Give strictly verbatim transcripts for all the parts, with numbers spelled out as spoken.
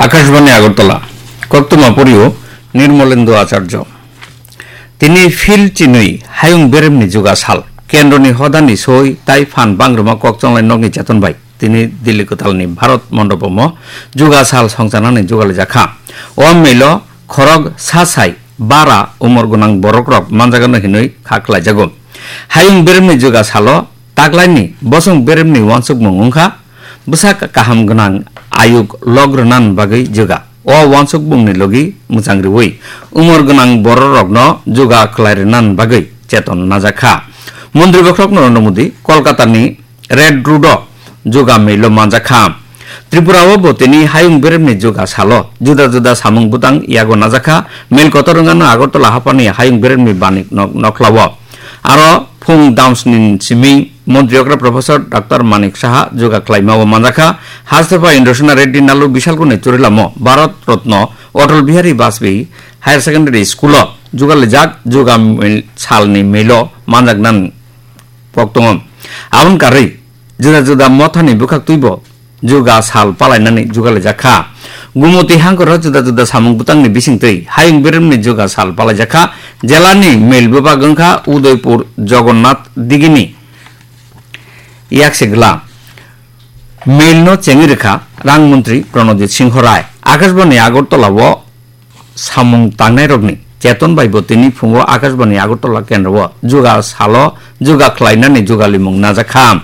Akashbani Agartala, Koktwma Porio, Nirmolendu Acharjo. Tini phil chinwi hayung beremni juga sal, kendroni hodani soi tai phan bangruma kok chonglai nokni cheton bai tini Delhi kwtalni Bharat Mondopomo juga sal songchanani jugalijak kha. O melo khorok sa sai bara umor gwnang borokrok manjagano hinwi kha khlaijago. Hayung beremni juga salo taklaini bosong beremni uansukmung wngkha, bwsak kaham gwnang ayuk lok rwnan bagwi juga. O uansukmungni logi mwchang rwui umor gwnang bororokno juga khlai rwnan bagwi cheton najak kha. Montri bokhorok Narendra Modi Kolkatani Red Road-o juga melo manjak kha. Tripura-o bo tini hayung beremni juga salo juda juda samung butang yago najak kha. Mel kotor wngano Agartala haphani hayung beremni banik nok-, nokhlao. Aro phung damsni simi Montri okra Professor Doctor Manik Saha juga khlaima o manjakha. Hastepha Indrasena Reddy Nallu Bisalkuni Churilamo Bharat Ratna Atal Bihari Vajpayee Higher Secondary School o jugalijak juga mil-, salni milo manjaknan pok tongo. Aboni karwi juda juda mothani bwkhak twibo juga sal palainani jugalijak kha. Gumoti hangkoro juda juda samung butangni bisingtwi hayung beremni juga sal palaijak kha. Jelani mel bwbak wngkha Udaipur Jagannath Digini yaksigla. Melno chengwi rwkha Rang Montri Pranojit Singho Rai. Akashbani Agartala-o samung tangnairokni cheton bai bo tini phungo Akashbani Agartala kendro-o juga salo juga khlainani jugalimung najak kha.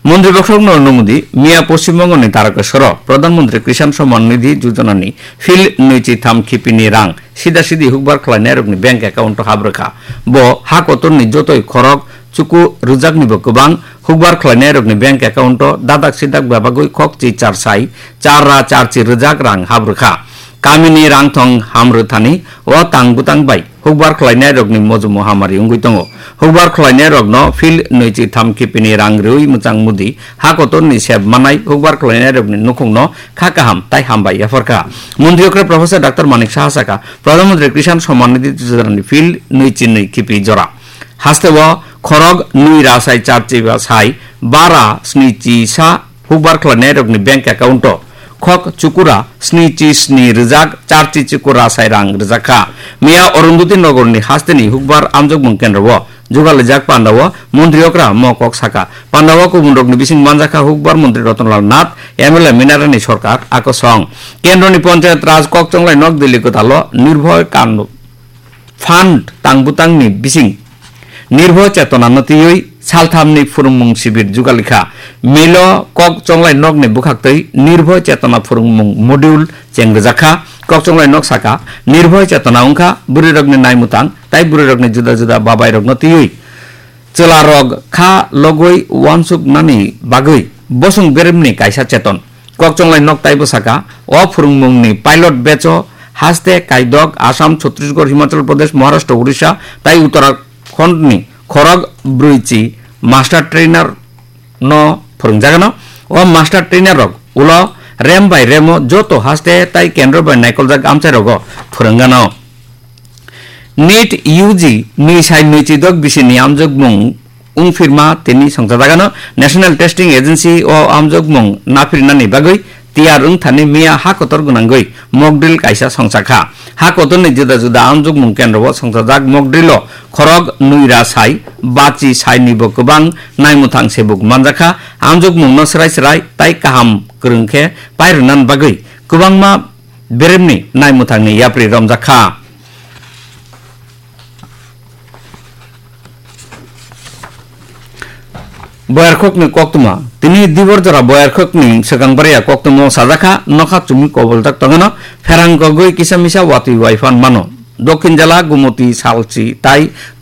Montri bokhorok Narendra Modi miya Poschim Bongoni Tarakeswaro Pradhan Mantri Kisan Samman Nidhi Yojana ni phil nwichi tham khipini rang sida sidi hukbar khlainairokni bank account o hap rwkha. Bo ha kotorni jotoi khorok chuku rwjaknibo kwbang hukbar khlainairokni bank account o dadak sidak bebagwi khokchi char sai char ra char chi rwjak rang hap rwkha. Kamini rangthong ham rwthani o tang bwtang bai hukbar khlainairokni mojumo hamari wngwi tongo. Hukbar khlainairokno phil nwichi tham khipini rang rwui mwchang Modi ha kotorni sep manai hukbar khlainairokni nukhungno kha kaham tai hambai yapharkha. Montri okra Professor Doctor Manik Saha sakha, Pradhan Mantri Kisan Samman Nidhi Yojana ni phil nwichi nwi khipi jora. Hasteo khorok nwi ra sai char chiba sai bara sni chi sa hukbar khlainairokni bank account o khok chukura sni chi sni rwjak char chi chukura sai rang rwjak kha. Miya Arundhati Nagarni hasteni hukbar amjokmung kendro o jugalijak pandao montri okra mo kok sakha. Pandao kubunrokni bising manjakha hukbar montri Ratanlal Nath, M L A Minarani Sarkar, akosong. Kendroni Panchayat Raj kok chonglai nok Delhi kwtalo Nirbhay Kand Fund tangbutangni bising Nirbhay Chetona no twiwi salthamni phwrwngmung sibir jugalikha. Milo kok chonglai nokni bwkhaktwi Nirbhay Chetona phwrwngmung module chengrijakha. Kok chonglai nok saka, Nirbhay Chetona wngkha bwrwirokni naimwtang tai bwrwirokni juda juda babairokno twiwi chwlarok kha logwi uansuknani bagwi bosong beremni kaisa cheton. Kok chonglai nok taibo saka, o phwrwngmungni pilot batch o haste kaidok Assam, Chhattisgarh, Himachal Pradesh, Maharashtra, Odisha tai Uttarakhand ni khorok brwi chi master trainer no phwrwngjagano. O master trainer rok ulo rem bai remo joto haste tai kendro bai naikoljak amchai rogo phwrwnggano. NEET U G nwi sai nwi chidok bisini amjokmung wngphirma tini songchajagano. National Testing Agency o amjokmung naphirinani bagwi tiyar wngthani miya ha kotor gwnangwi mock drill kaisa songchakha. Ha kotorni juda juda amjokmung kendro o songchajak mock drill o khorok nwi ra sai bachi sai nibo kwbang naimwthang sebuk manjakha. Amjokmungno srai srai tai kaham kwrwng khe pairwnani bagwi kwbangma beremni naimwthangni yapri romjak kha. Boyarkhokni koktwma. Tini Diborjora Boyarkhokni swkang bariya koktwmao sajak kha, nokha chumui koboljak tongano, pherang kogwi kisa misa watwi waiphan mano. Dokhin jala Gumoti salchi tai